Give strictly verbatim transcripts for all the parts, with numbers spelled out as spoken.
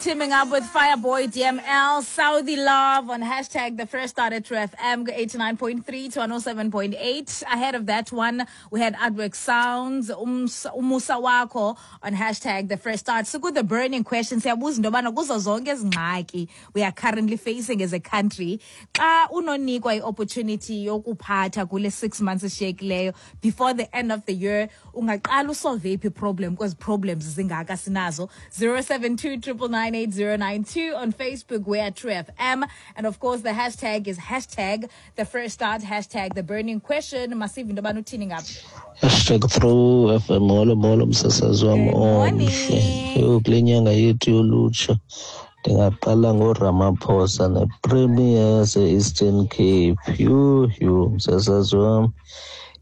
teaming up with Fireboy D M L, Saudi Love on hashtag the Fresh Start at True F M, eighty-nine point three to one oh seven point eight. Ahead of that one, we had Artwork Sounds, Umusa Wako on hashtag the Fresh Start. So good, the burning question, siyabuza into yobana kuzo zonke ezi ngxaki we are currently facing as a country, xa unonikwa i-opportunity yokuphatha kule six months eshiyekileyo before the end of the year, ungaqala usolve iphi problem kwezi problems zingaka sinazo? Zero seven two triple nine eight zero nine two on Facebook, we're at True F M, and of course the hashtag is hashtag the Fresh Start, hashtag the burning question. Masive into yobana uthini ngapha? Hashtag True F M. Molo molo msasazi wam omhle. Yho, kule nyanga yethu yolutsha ndingaqala ngoRamaphosa nePremier yase-Eastern Cape. Yho yho msasazi wam,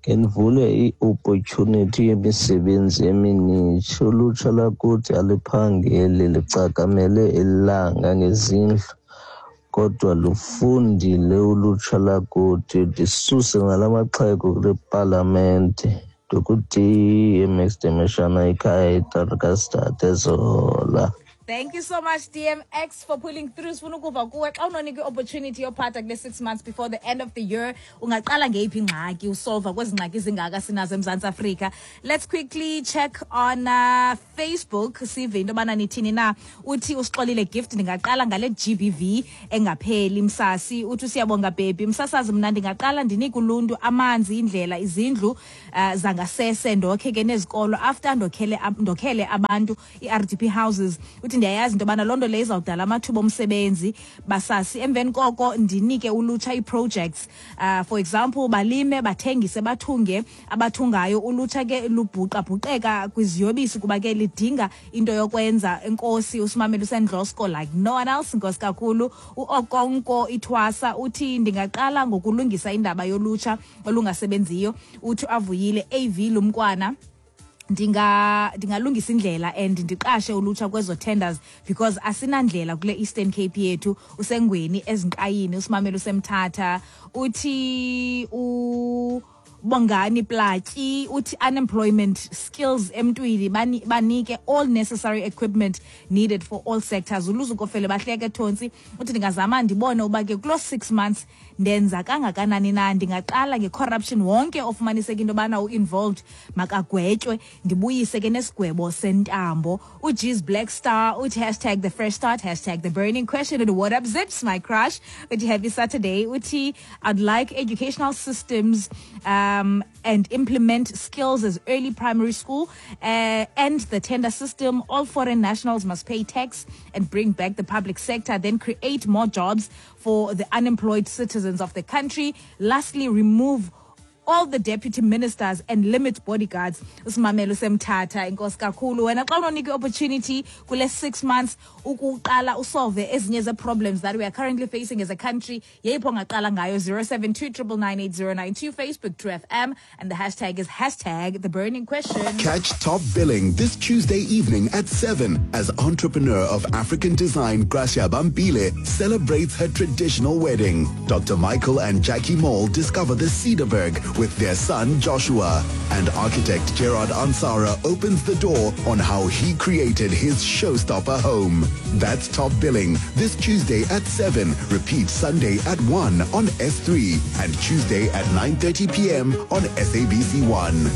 ke ndivule i-opportunity yemisebenzi eminintshi. Ulutsha lakuthi aliphangeli, licakamele ilanga ngezindlu, kodwa lufundile ulutsha lakuthi. Ndisuse ngala maxhego kule palamente. Ndikuthi M X Demeshana ikhaya eTarkastad eZola. Thank you so much, D M X, for pulling through. Sifuna ukuva kuwe xa unonika i-opportunity yophatha kule six months before the end of the year, ungaqala ngeyiphi ingxaki usolva kwezi ngxaki zingaka sinazo eMzantsi Afrika? Let's quickly check on, uh, Facebook, sive into yobana nithini na. Uthi usixolile Gift, ndingaqala ngale G B V engapheli msasi. Uthi usiyabonga baby msasazi, mna ndingaqala ndinike uluntu amanzi, indlela, izindlu, uh, zangasese, ndokhe ke nezikolo after ndokhele, ndokhele abantu i-R D P houses. Uthi ndiyayazi into yobana loo nto leyo izawudala amathuba omsebenzi basasi. Emveni koko ndinike ulutsha ii-projects, uh, for example balime, bathengise, bathunge. Abathungayo ulutsha ke lubhuqabhuqeka kwiziyobisi kuba ke lidinga into yokwenza. Enkosi usimamele usendlosko like no one else, nkosi kakhulu. UOkonko Ithwasa uthi ndingaqala ngokulungisa indaba yolutsha olungasebenziyo. Uthi avuyile A V Lumkwana, ndinga ndingalungisa indlela and ndiqashe ulutsha kwezo tenders because asinandlela kule Eastern Cape yethu. Usengweni ezinkayini usimamele usemthatha. Uthi u Bongani Platyi uthi unemployment skills emntwini, bani-, banike all necessary equipment needed for all sectors. Uluzukofele bahleke Thontsi uthi ndingazama ndibone uba ke kulo six months ndenza kangakanani na. Ndingaqala nge-corruption, wonke ofumaniseka into yobana u-involved makagwetywe, ndibuyise ke nesigwebo sentambo. UG's Black Star uthi hashtag the Fresh Start, hashtag the burning question, and what up Zips my crush uthi happy Saturday. Uthi I'd like educational systems, um, Um, and implement skills as early primary school, uh, end the tender system. All foreign nationals must pay tax and bring back the public sector, then create more jobs for the unemployed citizens of the country. Lastly, remove all the deputy ministers and limit bodyguards. Usimamelo semthatha, inkosi kakhulu. Wena xa unonika i-opportunity kule six months ukuqala usolve ezinye ze-problems that we are currently facing as a country, yeyiphi ongaqala ngayo? Zero seven two triple nine eight zero nine two, Facebook True F M, and the hashtag is hashtag the burning question. Catch Top Billing this Tuesday evening at seven as entrepreneur of African design Gracia Bambile celebrates her traditional wedding. Doctor Michael and Jackie Mall discover the Cederberg with their son Joshua, and architect Gerard Ansara opens the door on how he created his showstopper home. That's Top Billing this Tuesday at seven, repeat Sunday at one on S three and Tuesday at nine thirty p m on S A B C one.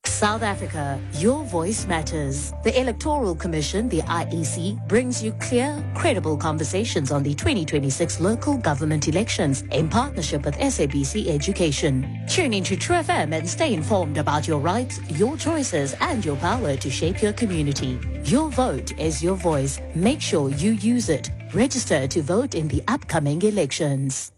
South Africa, your voice matters. The Electoral Commission, the I E C, brings you clear, credible conversations on the twenty twenty-six local government elections in partnership with S A B C Education. Tune into True F M and stay informed about your rights, your choices, and your power to shape your community. Your vote is your voice. Make sure you use it. Register to vote in the upcoming elections.